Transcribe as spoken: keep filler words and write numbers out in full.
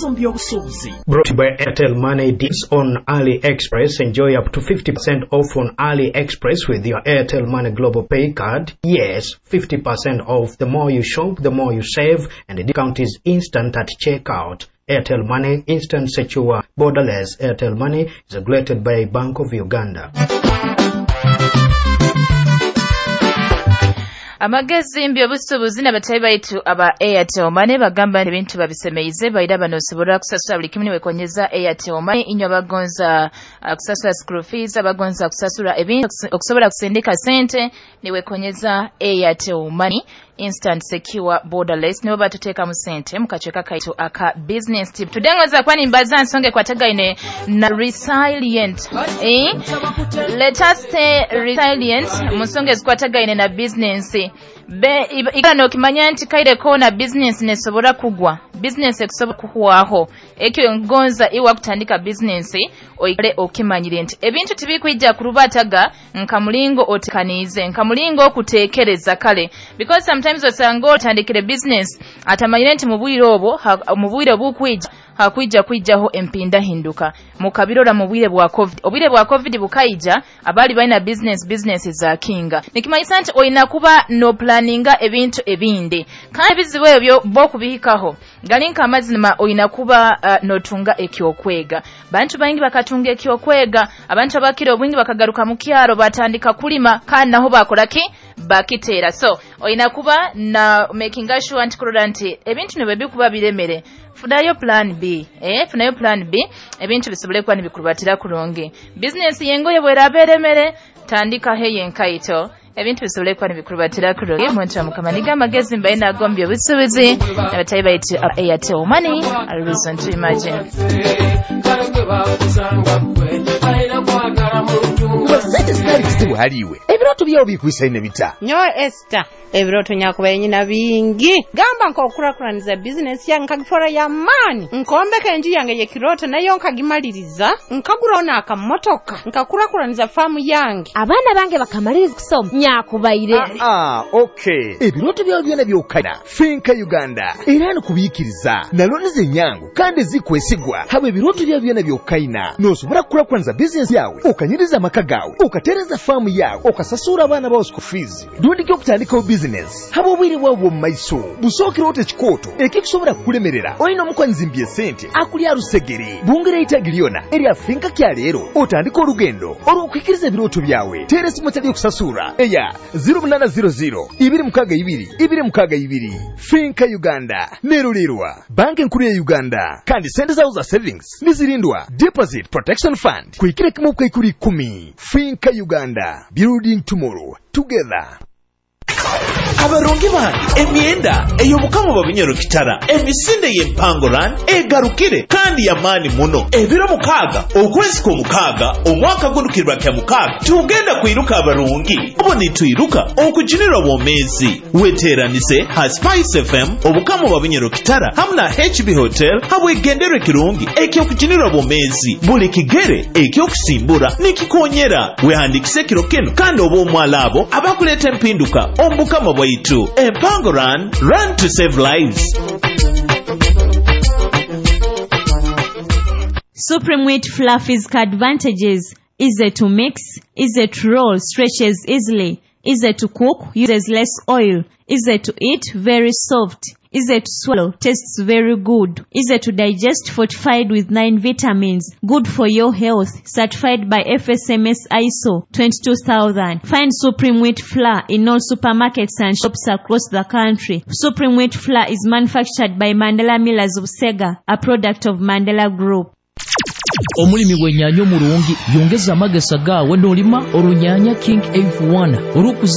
Omu by'obusuubuzi. Brought to you by Airtel Money deals on AliExpress. Enjoy up to fifty percent off on AliExpress with your Airtel Money Global Pay card. Yes, fifty percent off. The more you shop, the more you save, and the discount is instant at checkout. Airtel Money, instant, secure, borderless. Airtel Money is regulated by Bank of Uganda. Amagezi mbyobusuubuzi n'abatayi baitu aba Airtel Money bagamba nti ebintu babisemeize baira bano osobola kusasula buli kimu niwekonyeza Airtel Money. Inywe abagonza uh, kusasula school fees, abagonza kusasula ebintu, okusobola kusindika sente, niwekonyeza Airtel Money, instant, secure, borderless. Nibo batuteekamu sente mu kacweka kaitu aka business tip. Tudengoza kuba nimbaza nsonga ekwatagaine na resilient, eh? Let us stay resilient mu nsonga ezikwatagaine na business. Be ikala nokimanya nti kaire kona business nesobora kugwa, business ekusobola kuhwaho. Ekyo ngonza iwa kutandika business oikale okimanyire nti ebintu tibikwijja kurubataga nka mulingo otekaniize, nka mulingo okuteekereza kale, because sometimes osanga otandikire business atamanyire nti mu bwire obwo, mu bwire obukwija hakwija kwijaho empindahinduka. Mukabirora mu bwire bwa COVID. Obwire bwa COVID bukaija, abali balina business, business za kinga. Nikimanyisa nti olina kuba no planninga ebintu ebindi, kandi ebizibu ebyo bokubihikaho gali nka amazima, olina kuba uh, notunga ekyokwega. Bantu baingi bakatunga ekyokwega. Abantu abakira obwingi bakagaruka mu kyaro, batandika kulima, kandi naho bakoraki? Bakiteera. So olina kuba na making sure nti kurora nti ebintu nibwe bikuba biremere, funayo plan B, eh funayo plan B, ebintu bisobole kuba nibikurubatira kurungi. Business yengoye bweraba eremere, tandika heye enkaito, ebintu bisobole kuba nibikurubatira kurungi. Muntu wa Mukama, niga amagezi mbaye nagombye obusuubuzi abatayi baitu Airtel Money, a reason to imagine. Sente zitali kizibu haliwe, ebirooto byawo bikwisaine bita? Nyowe Esther, ebirooto nyakubaire nyina bingi. Gamba nk'okukurakuraniza bizinesi yange nkagifora y'amaani, nkombeka enju yange y'ekirooto nayo nkagimaliriza, nkaguraho n'akamotoka, nkakurakuraniza faamu yange. Abaana bange bakamaliriza kusoma nyakubaire. Ah, okay, ebirooto byawe byona byokana Finca Uganda era nikubiikiriza na looni zenyangu kandi zikwesigwa. Haba ebirooto byawe byona byokaina, nosobora kukurakuraniza bizinesi yawe, okanyiriza amaka gawe, okatereza faamu yawe, okasasura abaana bawe school fees, rundi okutandikaho bizinesi. Haba obwire bwawe bw'omu maiso busookereho tekikooto ekikusobola kukulemerera. Olina omukwanyizi esente akulya rusegere bungera eitagi lyona erya Finca kya leero, otandika olugendo olw'okuhikiriza ebirooto byawe. Teera esimu etali okusasura eya zero munaana zero zero ibiri mukaaga ibiri ibiri mukaaga ibiri. Finca Uganda nerulirwa Banka Enkuru ya Uganda, kandi sente zawo za savings nizirindwa Deposit Protection Fund kuhikira kimu bw'ikuri ikumi. Finca Uganda, building tomorrow together. Abarungi bange, emyenda ey'obukama bwa Bunyoro Kitara, emisinde y'empango run egarukire kandi yamaani muno. Ebiro mukaaga okwezi kw'omukaaga omwaka guno kirwa kya mukaaga, tugenda kwiruka abarungi obo nitwiruka okujunirwa bwomeezi. Weteeranise ha Spice F M, obukama bwa Bunyoro Kitara hamu na H B Hotel habwegenderwa ekirungi ekyokujunirwa bwomeezi. Buli kigere ekyokusimbura nikikonyera. Wehandikise ekiro kino kandi oba omwala abo abakuleeta empinduka omu bukama bwaitu. Empango run, run to save lives. Supreme Wheat Fluffy's advantages: easy to mix, easy to roll, stretches easily, easy to cook, uses less oil, easy to eat, very soft, easy to swallow, tastes very good, easy to digest, fortified with nine vitamins, good for your health, certified by F S M S I S O twenty-two thousand. Find Supreme Wheat Flour in all supermarkets and shops across the country. Supreme Wheat Flour is manufactured by Mandela Millers of Sega, a product of Mandela Group. Omulimi w'ennyaanya omurungi yongeza amagesa gaawe n'olima orunyaanya King F one olw'okuzi